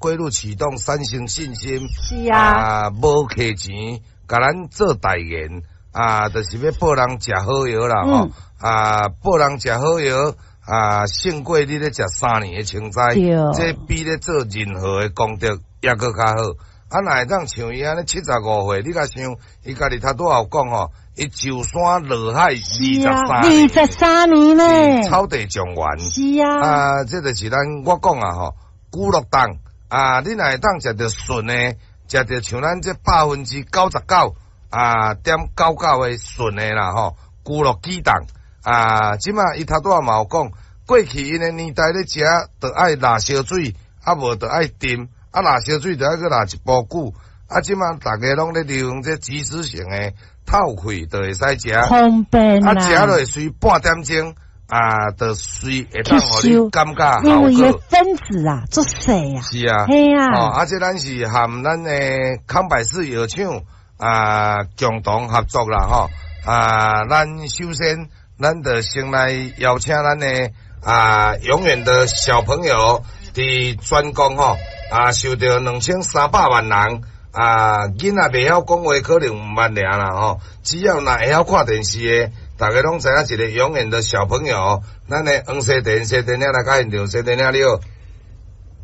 龜鹿啟動三成信心，啊，無客錢，共咱做代言，啊，就是欲報人食好藥啦，吼，啊，報人食好藥，啊，勝過你咧食3年的清齋，這比咧做任何的功德猶閣較好。啊，若會當像伊按呢75歲，你共想，伊家己頭拄仔有講吼，伊上山落海23 二十三年呢，草地狀元。啊，這就是咱我講啊吼，龜鹿凍啊，你若會當食著純的，食著像咱這99.啊點九九的純的啦吼，龜鹿啟動啊，這馬伊頭拄仔嘛有講，過去𪜶的年代咧食，著愛抐燒水，啊無著愛浸。啊，抐燒水著愛閣抐一埔久，啊，這馬逐家攏咧利用這即時性的透氣，就會使食，方便啊，食落隨半點鐘啊，就隨會當予你感覺因為伊分子啊，足細啊，是啊，嘿啊，哦，啊，這咱是和咱的康百氏藥廠啊共同合作啦，吼，啊，咱首先咱就先來邀請咱的啊永遠的小朋友佇全國吼。啊，受著2300萬人啊，囡仔袂曉講話，可能毋捌爾啦吼。只要若會曉看電視的，逐家攏知影一个永遠的小朋友。咱的黃西田，西田兄來到現場，西田兄你好。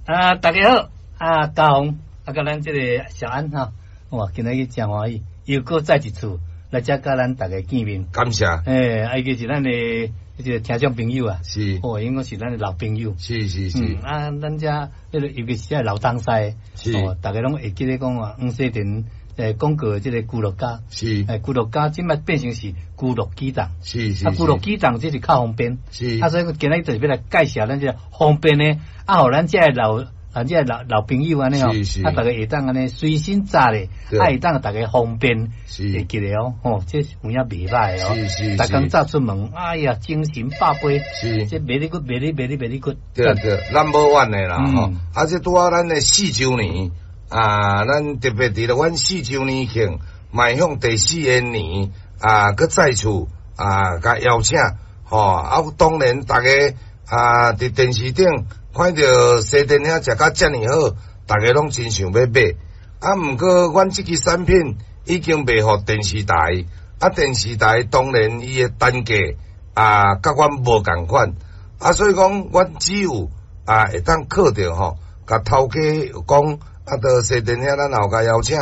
啊，大家好，啊，嘉宏，啊，佮咱這个小安哈，哇，今仔日誠歡喜，又閣再一次來遮佮咱逐家見面。感謝。欸，啊，伊個是咱的這個聽眾朋友啊，哦，應該是咱的老朋友。啊，咱遮彼個尤其是這老東西，哦，逐家攏會記得講啊，黃西田廣告的這个龜鹿加，龜鹿加這擺變成是龜鹿啟動，啊，龜鹿啟動這是較方便，啊，所以今仔日就是欲來介紹咱這个方便的，啊，予咱這个老啊，這个老老朋友按呢吼，啊，逐家會當按呢隨身攜咧，啊，會當逐家方便，會記得哦，吼，這是有影袂䆀哦，逐工早出門，哎呀，精神百倍，這 very good，very very very good。對對，咱無怨的啦，吼，啊，這拄仔咱的四週年，啊，咱特別佇咧阮四週年慶邁向第四个年，啊，閣再次啊，共邀請，吼，啊，當然逐家啊，佇電視頂看著西田兄食甲遮爾好，逐家攏真想欲買。啊，毋過阮這支產品已經賣予電視台，啊，電視台當然伊的單價啊，佮阮無仝款，啊，所以講阮只有啊會當靠著吼，共頭家講，啊，著西田兄咱也有共邀請，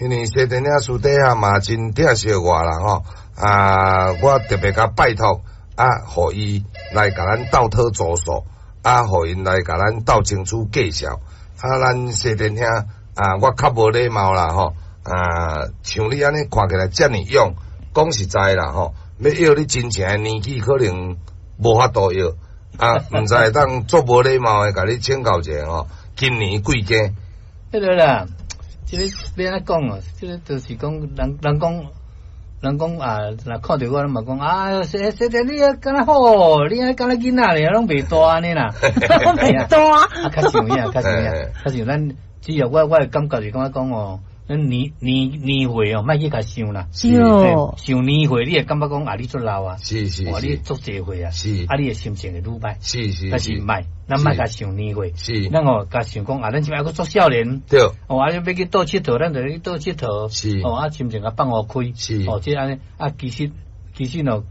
因為西田兄私底下嘛真疼惜我啦吼，啊，我特別共拜託，啊，予伊來共咱鬥討助數。啊，予𪜶來共咱鬥爭取介紹。啊，咱西田兄啊，我較無禮貌啦吼。啊，像你按呢看起來遮爾勇，講實在啦吼，欲約你真正的年紀可能無法度約。啊，毋知會當足無禮貌的共你請教一下吼，今年貴庚？彼个啦，這个欲按怎講哦？這个就是講人人講。人講啊，若看著我，攏嘛講啊，西西田你啊，敢若好，你啊敢若囡仔爾，攏袂大按呢啦，袂大。啊，較像影，較像影，較像咱，只要我的感覺是感覺講哦，咱年年年歲哦，莫去共想啦。想年歲，你會感覺講啊，你足老啊，哇，你足濟歲啊，啊，你的心情會愈歹。但是莫，咱莫共想年歲。咱哦，共想講啊，咱這擺猶閣足少年。哦，啊，欲去佗𨑨迌，咱就去佗𨑨迌。哦，啊，心情共放予開。哦，這按呢啊，其實其實哦，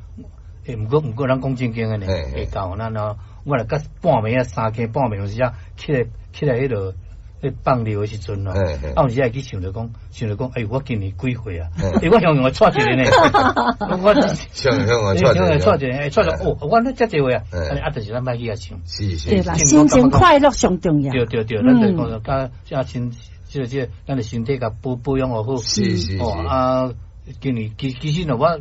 欸，毋過，咱講正經的呢，會到咱哦，我若到半暝啊，三更半暝有時啊，起來起來彼落。咧放尿的時陣咯，啊有時會去想著講，想著講，哎，我今年幾歲啊？欸，我雄雄會掣一个呢，我雄雄會掣一个，掣一个，欸，掣著哦，我咧遮濟歲啊，啊，就是咱莫去遐想，對啦，心情快樂上重要。對對對，咱就講共遮身，這個這個，咱的身體共保保養予好。哦啊，今年其其實喏，我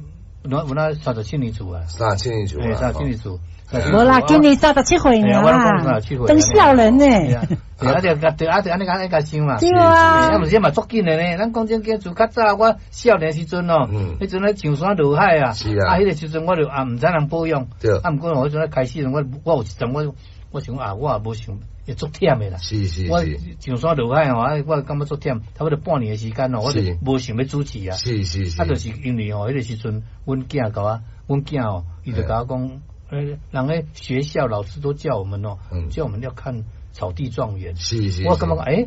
我我那37年次啊，三十七年次，欸，三十七年次。無啦，今年三十七歲爾啦，當少年呢。對啊，對對啊，對按呢按呢共想嘛。對啊。啊，毋是嘛足緊的呢。咱講正經，自較早我少年時陣哦，彼陣咧上山落海啊，啊，彼個時陣我就啊毋知人保養。啊，毋過我彼陣咧開始，我我有一陣我我想啊，我也無想會足忝的啦。我上山落海吼，啊，我感覺足忝，差不多半年的時間哦，我就無想欲主持啊。啊，就是因為吼，彼個時陣，阮囝共我，阮囝哦，伊就共我講，人咧學校老師都叫我們哦，叫我們要看草地狀元。我感覺講，欸。